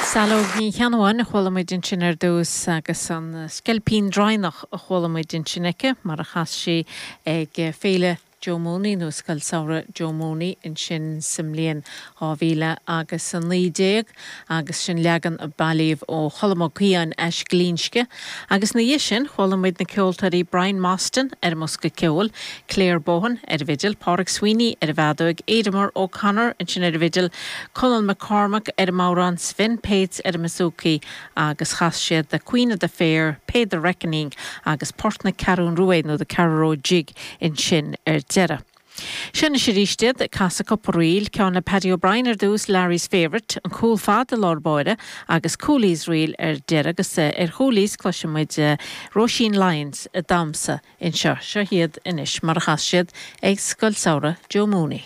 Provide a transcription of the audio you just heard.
Saileog Ní Cheannabháin a chuala muid ansin ar dtús agus an Sceilpín Draighneach a chuala muid ansin aici mar a chas sí ag Féile Joe Mooney nó Scoil Samhraidh Joe Mooney ansin sa mbliain 2000 agus 19 agus sin leagan a bailíodh ó Cholm Ó Caodháin as Glinsce. Agus ina dhiaidh sin chuala muid na ceoltóirí Brian Mostyn ar an mbosca ceoil, Claire Bohan ar an bhfidil, Pádraig Sweeney ar an bhfeadóig, Aidan O'Connor ansin ar an bhfidil, Conall McCormack ar an mbodhrán, Sven Pates ar an mbouzouki agus chas siad The Queen of the Fair, Pay the Reckoning agus Port na Ceathrún Ruaidh nó The Carraroe Jig ansin ar deireadh. Seo anois arís iad ag casadh cúpla ríl, ceann le Paddy O'Brien ar dtús, Larry's Favourite, an cúl fada i lár báire agus Cooley's Reel ar deireadh agus ar Chooley's cloisfidh muid Róisín Lyons ag damhsa anseo. Seo iad anois mar a chas siad ag Scoil Samhraidh Joe Mooney.